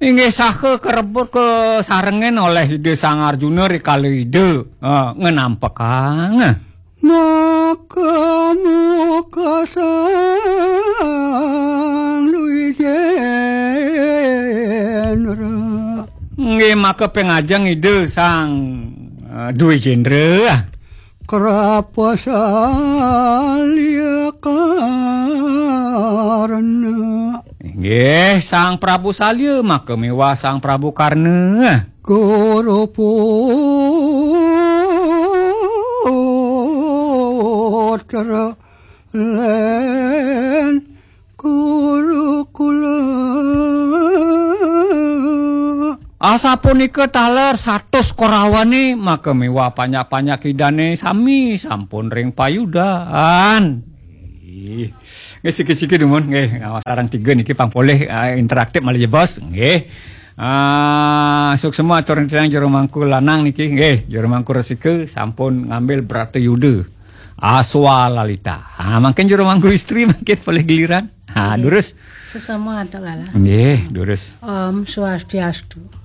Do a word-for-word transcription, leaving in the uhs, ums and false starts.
Inggih saha karebut kasarengin olih Ida Sang Arjuna rikala Ida, eh, ngenampekang. Maka muka Sang Dwijendra. Nggih, maka ping ajeng Ida Sang, eh, Dwijendra. Krapa Salya Karna. Inggih, Sang Prabu Salya maka miwah Sang Prabu Karna. Guru Putra Len Gurukula. Asapunika taler satus korawane maka miwah panyak-panyak idane sami sampun ring payudan. Ih, nggih, siki-siki dumun, nggih, ngawas sareng tiga niki pang polih, eh, interaktif malih jebos, nggih. Ah, suksma atur titiang juru mangku lanang niki, nggih, juru mangku resika sampun ngambil bratayuda. Aswalalita. Ah, mangkin juru mangku istri mangkin polih giliran. Ha, durus. Suksma, Tok Galah. Nggih, durus. Om Swastiastu.